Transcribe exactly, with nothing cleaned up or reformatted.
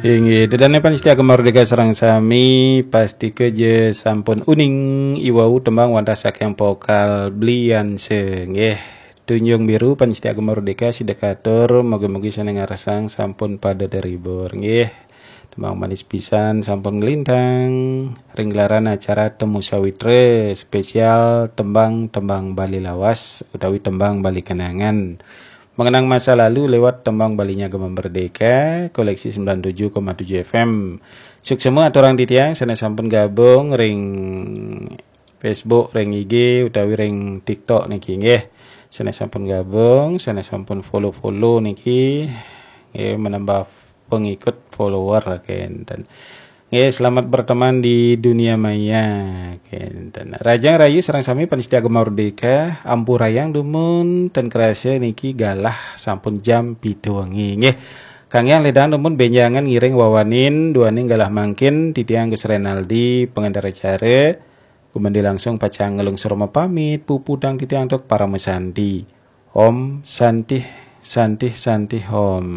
Inggih, ida dané pamiarsa Gema Merdeka sareng sami, pastika ja sampun uning i wau tembang wantah saking vokal Blianse, nggih. Tunjung Biru pamiarsa Gema Merdeka sida katur, mugi-mugi sané ngarsang sampun pada terhibur, nggih. Tembang manis pisan sampun nglintang ring gelaran acara Temu Sawitra spesial tembang-tembang Bali lawas utawi tembang Bali kenangan. Mengenang masa lalu lewat tembang Balinya Gema Merdeka, koleksi sembilan tujuh koma tujuh F M. Suksma aturang titiang sané sampun gabung ring Facebook, ring I G utawi ring TikTok niki, nggih. Sané sampun gabung, sané sampun follow-follow niki, nggih, menambah pengikut follower kénten. Nggih, selamat berteman di dunia maya kénten. Rahajeng rahayu sareng sami pamiarsa Gema Merdeka, ampurayang dumun ten krasa niki galah sampun jam pitu wengi, nggih. Kang Hyang ledang dumun bénjangan ngiring wawanin duaning galah mangkin, titiang Gus Renaldi, pengantar acara, gumanti langsung pacang nglungsur mapamit, puputang titiang antuk parama santi. Om Santih, Santih, Santih Om.